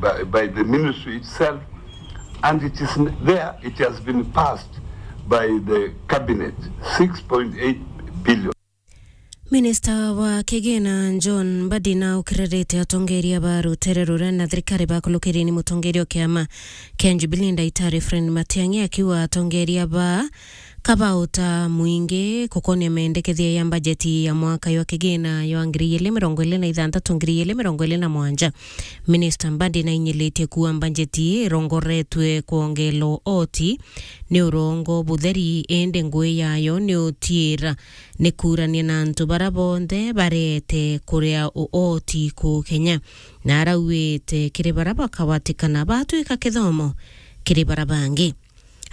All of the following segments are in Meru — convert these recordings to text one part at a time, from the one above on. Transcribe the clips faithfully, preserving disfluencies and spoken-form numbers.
uh, by the ministry itself, and it is n- there, it has been passed by the cabinet, six point eight billion. Minista wa kigina John Mbadi na ukirarite atongeria ba rutere ruria na thirikari bakulukirie ni mutongeria o kiama kia Jubilee Ndagitari Fred Matiang'i, akiuga atongeria ba kabauta mwingi kukonia mendekethia ya mbajeti ya mwaka jwa kigina jwa ngiri igiri mirongo iri na ithanthatu, ngiri igiri mirongo iri na mugwanja. Minista Mbadi nainyiritie kuuga mbajeti irongoretwe kwongerwa oti ni urongo butheri, indi ngui yayo ni utiira ni kuurania na antu bara bonthe barete kuria uoti ku Kenya, na arauite kiri bara bakawatikana batwika kithomo kiri bara bangi.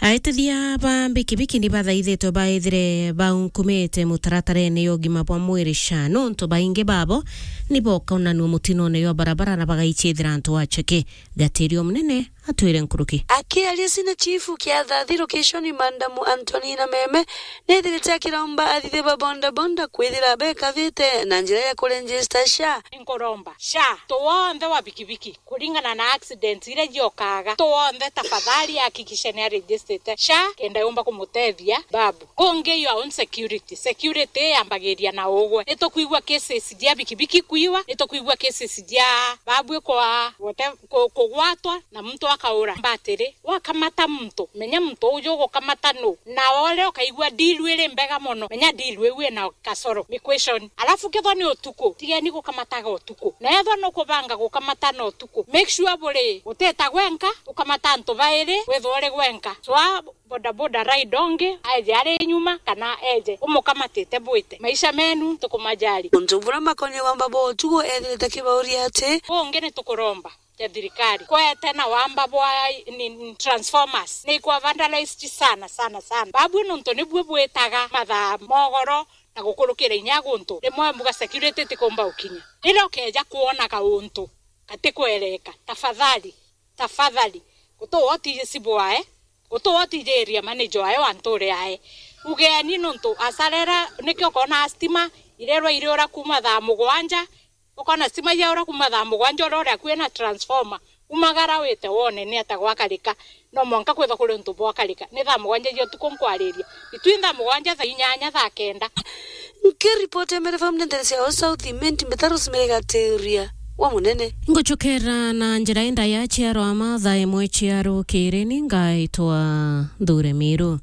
Aitithia ba mbikibiki ni bathaithitwe baithire baunkumite mutaratarene ya ugima bwa mwiri SHA, nontu baingi babo ni bokaunanua mutinone jwa barabara na bagaicithira antu acheke. Gatirio munene atwire nkuruki. Akiaria sina chifu kia Thathi lokeshoni, Madamu Antonina Meme, nethirite akiromba athithia ba bodaboda kwithira bekavite na njira ya kuregister SHA. Nkuromba SHA, tu wonthe wa bikibiki, kuringana na accident iria jiokaga, tu wonthe tafadhali hakikishe ni aregistrite SHA kenda yumba kumutethia babu. Kungi your own security. Security yambagiria na ugwe. Nitukwigua cases jia bikibiki kwiwa, nitukwigua cases jia babu kwa wote ku- kugwatwa na muntu akaura. Mbatiri, wakamata muntu, menya muntu uju ugukamata nu. Na ore ukaigua deal iri mbega mono, menya deal iu ina kasoro. Ni question. Alafu kethwa ni utuku, tigeni gukamataga utuku. Na ethwa nukubanga gukamata na utuku, make sure buri uteta gwenka, ukamata antu bairi, withwa uri gwenka. So, bodaboda ride ongi, aeje ari nyuma, kana eje umukamatite bwite. Maisha menu tukumajali. Untu bura makonie wamba bo utuku ethirite kibauria ati, bungi ni tukuromba ja thirikari kwete na wamba bwa ni, ni transformers ni ikwa vandalized sana, sana, sana. Babu nontu nibwo bwitaga mathaa mogoro na gukurukira inya guntu. Rimwe mbuga security tikumba ukinya. Riria ukeja kwona kauntu gatikwereka, tafadhali, tafadhali, gutu woti sibwae, gutu woti area manager ae wa nture ae. Ugeni nontu asarera, nikio ukona stima irerwa iriura kuma thaa mugwanja, ukona stima yaura kuma thaa mugwanja, urore akui na transformer. Umagara wite wone ni ata gwakarika. No mwanka kwithwa kuri untu bwakarika. Ni thaa mugwanja cia utuku nkwariria. Itwi thaa mugwanja, thaa inyanya, thaa kenda. Nkiripoti Meru F M ndetere cia South Imenti, mbita Rosemary Gatiria wa Munene. Nguchukera na njira indaya ciarwa mathaa imwe cia rukiri, ni ngaitwa Nthure Miru.